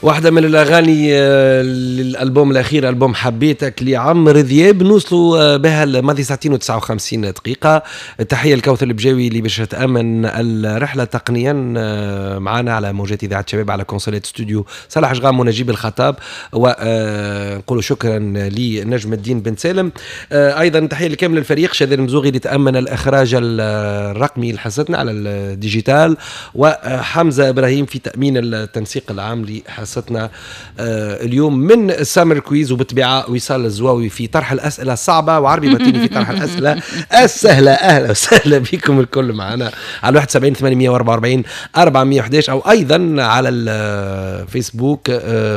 واحدة من الأغاني للألبوم الأخير، ألبوم حبيتك لعمرو دياب. نوصلوا بها الماضي ساعتين و59 دقيقة. تحية لكوثر البجاوي اللي باش تأمن الرحلة تقنيا معنا على موجات إذاعة شباب على كونسولات استوديو صالح جغام ونجيب الخطاب، ونقولوا شكرا لنجم الدين بن سالم. أيضا تحية لكامل الفريق، شاذ المزوغي اللي تأمن الإخراج الرقمي لحصتنا على ال digital، وحمزة إبراهيم في تأمين التنسيق العام لحصتنا اليوم من سامر quiz، وبالطبيعة وصال الزواوي في طرح الأسئلة الصعبة، وعربي باتيني في طرح الأسئلة السهلة. أهلا وسهلا بكم الكل معنا على 71 844 411، أو أيضا على الفيسبوك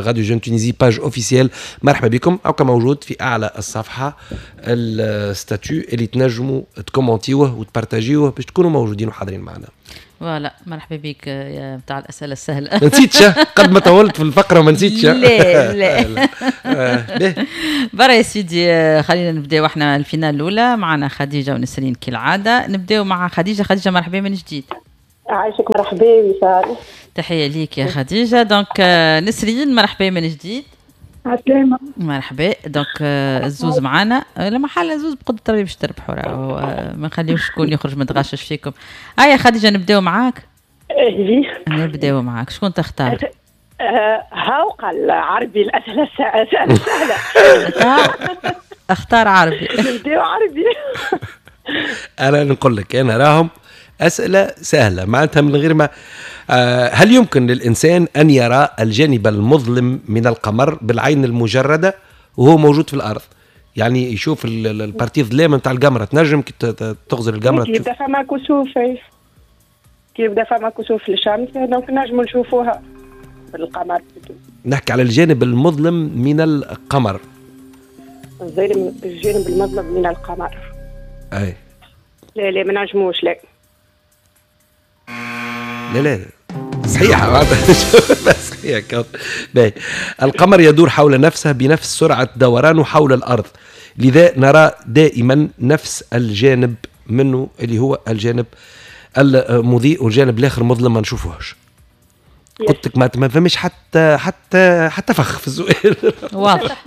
Radio Jeune Tunisie page officielle. مرحبا بكم، أو كموجود في أعلى الصفحة ال statut اللي تنجموا تكومونتيوه وتبارتاجيوه باش تكونوا موجودين وحاضرين معنا. voilà، مرحبا بك يا بتاع الاسئلة السهله. ما نسيتش، قد ما طولت في الفقرة ما نسيتش. لا لا، برا يا سيدي، خلينا نبداو احنا ال finale الاولى. معنا خديجة ونسرين كالعاده. نبداو مع خديجه. خديجه، مرحبا من جديد. عايشك، مرحبا وصال. تحية ليك يا خديجه. donc نسرين، مرحبا من جديد. عسلامة. مرحبا. donc الزوز معانا، لا محالة زوز بقدرة ربي باش تربحوا، راهو ما نخليوش شكون يخرج متغشش فيكم. هيا خديجة، نبداو معاك. اهلي. نبداو معاك، شكون تختار؟ هاو قال عربي الأسئلة السهلة. اختار عربي. نبداو عربي. انا نقول لك، انا راهم اسئلة سهله، معناتها من غير ما هل يمكن للانسان ان يرى الجانب المظلم من القمر بالعين المجردة وهو موجود في الارض؟ يعني يشوف ال partie ظلام نتاع القمره، تنجم كي تغزر القمره تشوف يبدا فما كسوف، كي يبدا فما كسوف للشمس donc نجموا نشوفوها بالقمر. نحكي على الجانب المظلم من القمر. الجانب المظلم من القمر. اي. لا لا، ما نجموش، لا. لا لا، صحيحة، صحيح. باهي، القمر يدور حول نفسه بنفس سرعة دورانه حول الأرض، لذا نرى دائما نفس الجانب منه اللي هو الجانب المضيء، والجانب الآخر مظلم ما نشوفوهش. قلت لك ما فماش حتى فخ في السؤال. واضح.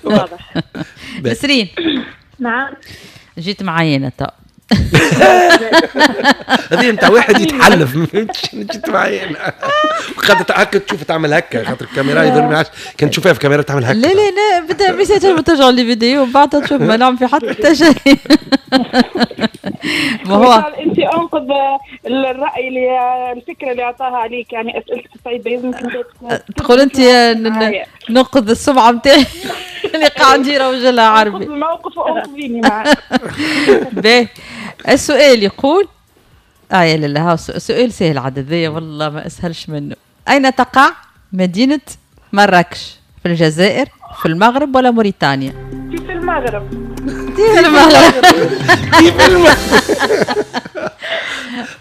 واضح. نسرين. نعم. جيت معايا انا تو. هذه انت واحد يتحلف، ما فهمتش، جيت معايا انا وقعدت هكا تشوف، تعمل هكا خاطر الكاميرا يظهر ما عادش كان تشوفها في الكاميرا تعمل هكا. لا لا لا، بدا ميساج ترجعوا les vidéos بعد تشوف، ما نعمل في حتى شيء. ما هو انت انقذ الراي اللي الفكرة اللي اعطاها عليك، يعني اسئلتك الصعيبه لازمك تقول انت ننقذ السمعة نتاعي اللي قاعد يروج لها عربي. الموقف وانقذيني معك. باهي، السؤال يقول يا لالا، ها سؤال سهل عاد هذايا، والله ما اسهلش منه. اين تقع مدينة مراكش؟ في الجزائر، في المغرب، ولا موريتانيا؟ في المغرب. في المغرب. في المغرب.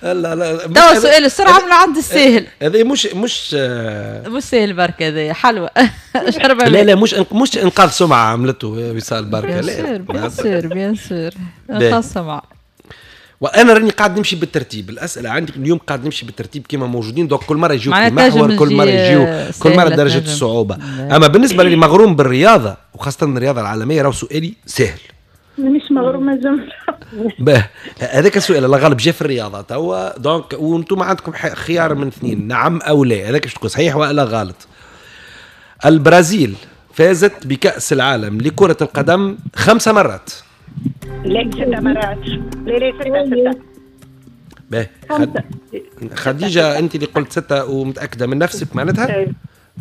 لا لا. توا سؤال السرعة من عند الساهل. هذا مش مش ساهل برك، هذا حلوة. لا لا، مش انقاذ سمعة عملته وصال بركة. لا، bien sûr، bien sûr، انقاذ سمعة. وانا راني قاعد نمشي بالترتيب، الاسئلة عندي اليوم قاعد نمشي بالترتيب كما موجودين، donc كل مرة يجيو في محور، كل مرة يجيو، كل مرة درجه الصعوبه. اما بالنسبة للي مغروم بالرياضة وخاصة الرياضة العالميه، راهو سؤالي سهل. مانيش مغرومه جملة. باه، هذاك السؤال الله غالب جا في الرياضة توا، donc وانتم عندكم خيار من اثنين، نعم او لا، هذاك باش تقول صحيح والا غلط. البرازيل فازت بكأس العالم لكرة القدم خمس مرات. لا، ست مرات. لا لا، ستة، ستة. باهي، خديجة، أنت اللي قلت ستة ومتأكدة من نفسك، معناتها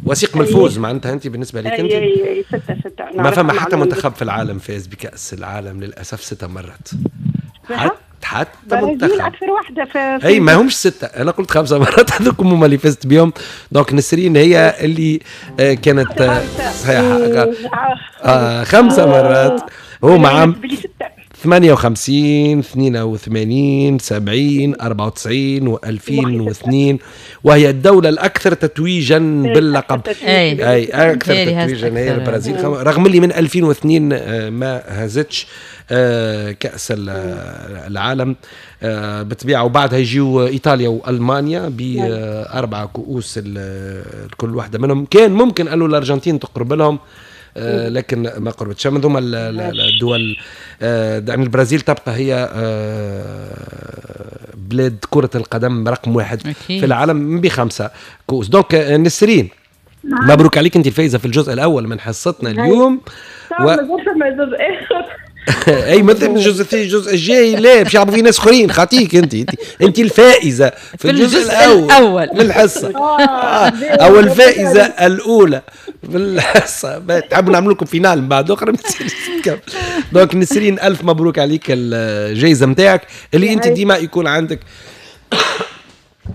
وثيق من الفوز، معناتها أنت بالنسبة لك أنت أي، ستة، ستة. ما فما حتى منتخب في العالم فاز بكأس العالم للأسف ستة مرات، حتى منتخب. اكثر واحدة في اي، ما همش سته، انا قلت خمسة مرات، هذوك هما اللي فزت بهم. donc نسرين هي اللي كانت صحيحه، 5 مرات هما عام 58، 82، 70، 94 و2002، وهي الدولة الأكثر تتويجا باللقب. أي أكثر تتويجا هي البرازيل، رغم اللي من 2002 ما هزتش كأس العالم بالطبيعة. وبعدها يجيو إيطاليا وألمانيا بأربع كؤوس كل واحدة منهم. كان ممكن أنه الأرجنتين تقرب لهم لكن ما قربتش. من ثم الدول يعني البرازيل تبقى هي بلاد كرة القدم رقم واحد في العالم ب5 كؤوس. donc نسرين، مبروك عليك، انت الفايزة في الجزء الأول من حصتنا اليوم. جزء آخر؟ اي مثل الجزء الثاني، الجزء الجاي لا، باش يلعبوا فيه ناس اخرين. خاطيك انت، انت الفائزه في الجزء الاول من الحصة او الفائزه الاولى في الحصه. تحبوا نعمل لكم finale من بعد اخرى؟ donc نسرين، الف مبروك عليك الجائزة نتاعك اللي انت ديما يكون عندك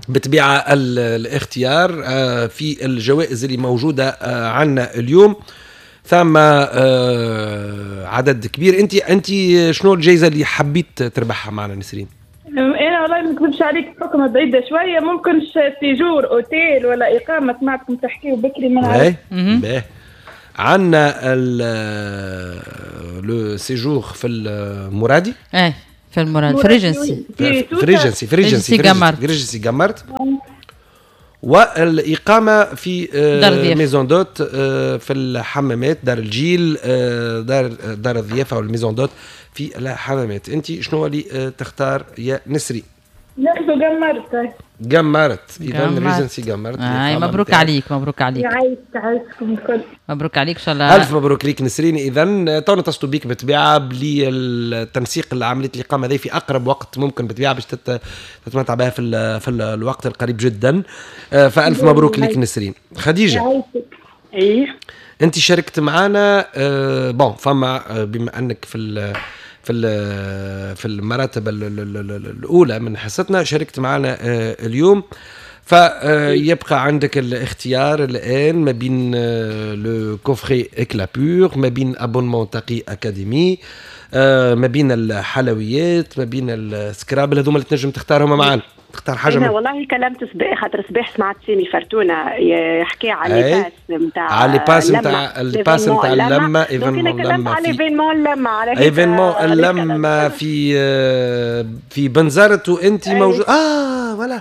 بطبيعة الاختيار في الجوائز اللي موجودة عندنا اليوم. ثم عدد كبير. انت شنو الجائزة اللي حبيت تربحها معنا نسرين؟ انا والله ما نكذبش عليك، بحكم بعيدة شويه، ممكن séjour hôtel ولا اقامه، سمعتكم تحكيوا بكري، ما نعرف. عندنا le séjour في المرادي. ايه، في المرادي، في ريجنسي. في ريجنسي، في ريجنسي قمرت، ريجنسي قمرت، والإقامة في maison d'hôtes في الحمامات، دار الجيل، دار الضيافة وال maison d'hôtes في الحمامات. أنت شنو اللي تختار يا نسري؟ ناخذ قمرت. قمرت، اذا ريجنسي قمرت. مبروك عليك، مبروك عليك. يعيشك، يعيشكم الكل. مبروك عليك ان شاء الله. الف مبروك ليك نسرين. اذا تو نتصلوا بيك بالطبيعة بالتنسيق لعملية الاقامة هذه في اقرب وقت ممكن بالطبيعه، باش تتمتع بها في الوقت القريب جدا. فالف مبروك ليك نسرين. خديجة، ايه انت شاركت معنا. bon، فما بما انك في المراتب الاولى من حصتنا شاركت معنا اليوم، فيبقى عندك الاختيار الان ما بين le coffret Éclat Pur، ما بين abonnement تقي اكاديمي، ما بين الحلويات، ما بين السكرابل. هذوما اللي تنجم تختارهم معنا. تختار حاجه. انا والله كلمت صباح، خاطر صباح سمعت سامي فرتونه يحكي على les passes نتاع على les passes نتاع ال passe نتاع اللمه. événement اللمه، على événement اللمه، على événement اللمة في بنزرت، وانت موجود. Voilà،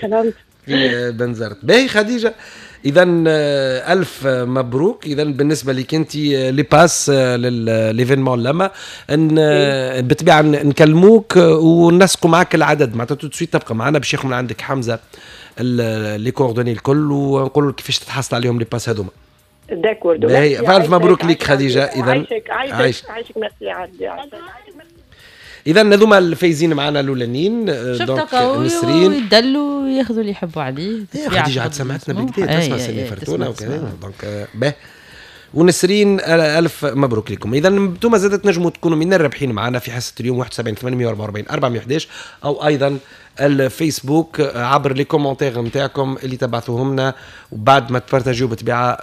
كلمت في بنزرت. باهي خديجه، اذا الف مبروك. اذا بالنسبة لك انت les passes l'événement لما ان بالطبيعة نكلموك ونسقوا معك العدد، معناتها tout de suite تبقى معنا باش ياخذ من عندك حمزة les coordonnées الكل ونقول لك كيفاش تتحصل عليهم les passes هذوما. d'accord. فالف مبروك لك خديجه. اذا عايشك، عايشك، عايشك، ميرسي عندي. اذا هذوما الفايزين معنا الاولانيين. donc نسرين يدلوا ياخذوا اللي يحبوا عليه. خديجة عاد سمعتنا بالكدا، تسمع سامي فرتونه وكذا. donc به ونسرين، الف مبروك لكم. اذا انتم زادت تنجموا تكونوا من الرابحين معنا في حصة اليوم 71 844 411، او ايضا الفيسبوك عبر les commentaires نتاعكم اللي تبعثوهم لنا، وبعد ما تبارتاجيو بالطبيعة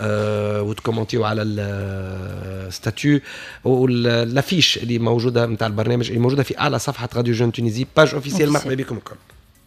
وتكومونتيو على ال statut و l'affiche اللي موجودة نتاع البرنامج، اللي موجودة في اعلى صفحة راديو Jeune Tunisie page officielle. مرحبا بكم الكل.